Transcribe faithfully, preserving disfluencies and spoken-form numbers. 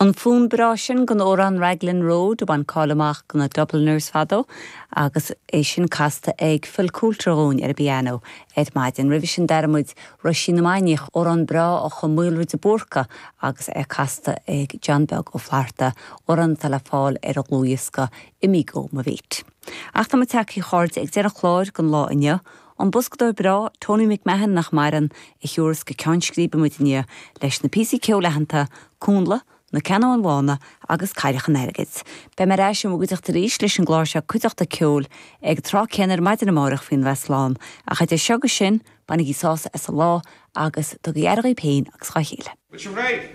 An fonn breá sin den amhrán Raglan Road a bhain cáil amach do na Dubliners fadó agus é sin casta ag Phil Coulter dúinn ar an bpianó ar maidin. Roimhe sin d'airigh muid Roisín na Mainiach amhrán breá a chum Maolra de Búrca agus é casta ag John Beag Ó Flatharta amhrán atá le fáil ar a dhlúthdhiosca Imigh Ó Mo Bheat. Ach tá tagtha a chairde ag deireadh an chláir don lá inniu, An boscadóir breá Tony McMahon nach maireann a thiúras go ceann scríbe muid inniu leis na píosaí ceoil aitheanta Cúnla, na Ceannóin Bhána agus Cailleach an Airgid. Beidh mé ar ais i bhur gcuideachta arís leis an gclár seo cuideachta ceoil ag tráth céanna ar maidin amárach faoin bheith slán, ach idir seo agus sin bainigí sásamh as an lá agus tugaigí aire daoibh féin agus dá chéile. Bhfuil sibh réidh?